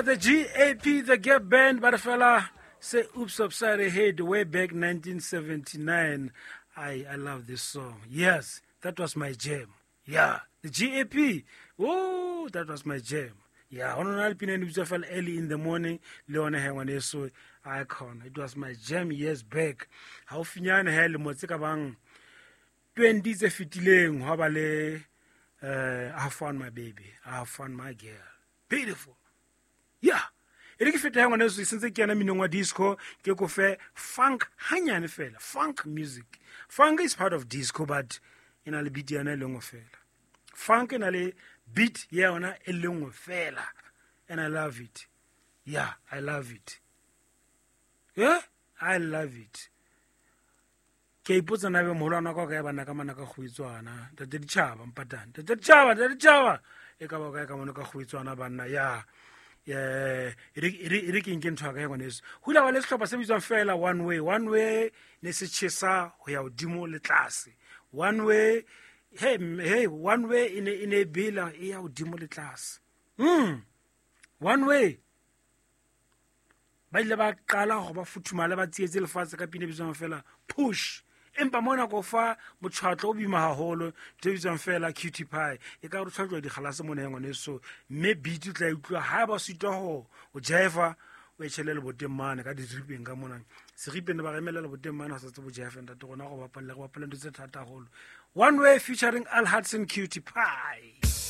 The GAP, the Gap Band, ba re fela say oops upside the head way back 1979. I love this song. Yes, that was my jam. Yeah, the GAP. Oh, that was my jam. Yeah, ho nona le pina e ne bitswa fela early in the morning le yona he ngwaneso icon. It was my jam years back. Haufinyane he lemo tse ka bang 20 tse fetileng hwa ba le I found my baby, I found my girl. Beautiful. Yeah. E re ke feta ya ngwaneso e sentse ke yana minong wa disco ke ko fe funk hanyane fela, funk music. Funk is part of disco but e na le beat yana e le nngwe fela. Funk e na le beat ya yona e le nngwe fela and I love it. Yeah, I love it. Yeah, I love it. Ke a ipotsa na be moholwana wa ka o kae bana ka mana ka kgoetswana ntate ditšhaba mpatane ntate ditšhaba ntate ditšhaba e ka ba o kae ka mone ka kgoetswana banna ya e re ke nke ntho ya ka ya ngwaneso go ile ba le sehlopha se bitswang fela one way. One way ne se tjhesa ho ya hodimo le tlase. One way, hey, hey, one way e ne e ne e bela e ya hodimo le tlase. One way ba ile ba qala hore ba futhumale ba tsietse lefatshe ka pina e bitswang fela push. Empa mona ko fa motshwatlo o boima haholo, ntho e bitswang fela cutie pie. E ka re o tshwatlwa dikgalase mona ya ngwaneso, mme beat o tla e utlwa ha ba sitwa ho o jive, o e tjhele leboteng mane ka diripeng ka mona. Seripeng ba remela leboteng mane ha sa tsebo jive ntate rona go bapalle, go bapalle ntho tse thata haholo. One Way featuring Al Hudson, Cutie Pie.